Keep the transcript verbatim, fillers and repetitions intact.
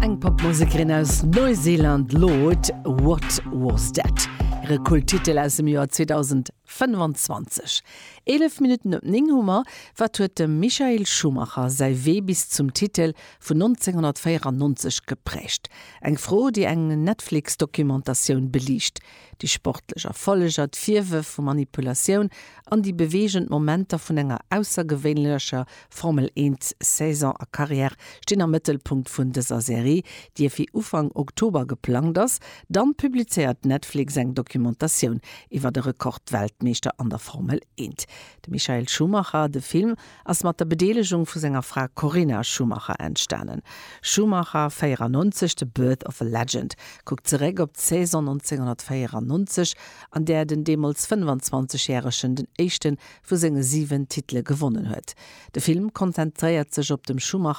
Eng Popmusekerin aus Neuseeland Lorde What was that? Hire Kulttitel aus dem Joer zweedausendfënnefenzwanzeg. Eelef Minutten op néng hu mer. Wat huet dem Michael Schumacher säi Wee bis zum Titel vun nonzénghonnertvéierannonzeg geprägt? Eng Fro, déi eng Netflix-Dokumentatioun beliicht. Déi sportlech Erfolleger, d'Virwërf vu Manipulatioun an déi beweegend Momenter vun enger aussergewéinlecher Formel eent Saison a Karriär stinn am Mëttelpunkt vun dëser Serie, déi fir Ufank Oktober geplangt ass. Dann publizéiert Netflix eng Dokumentatioun iwwer de Rekordweltmeeschter an der Formel eent. De Michael Schumacher, de Film, ass mat der Bedeelegung vu senger Fra Corinna Schumacher entstanen. Schumacher véierannonzeg, The Birth of a Legend kuckt zeréck op d'Saison nonzénghonnertvéierannonzeg, an där den deemools fënnefenzwanzegjäregen den éischte vu senge siwen Titele gewonnen huet. De Film konzentréiert sech op dem Schumacher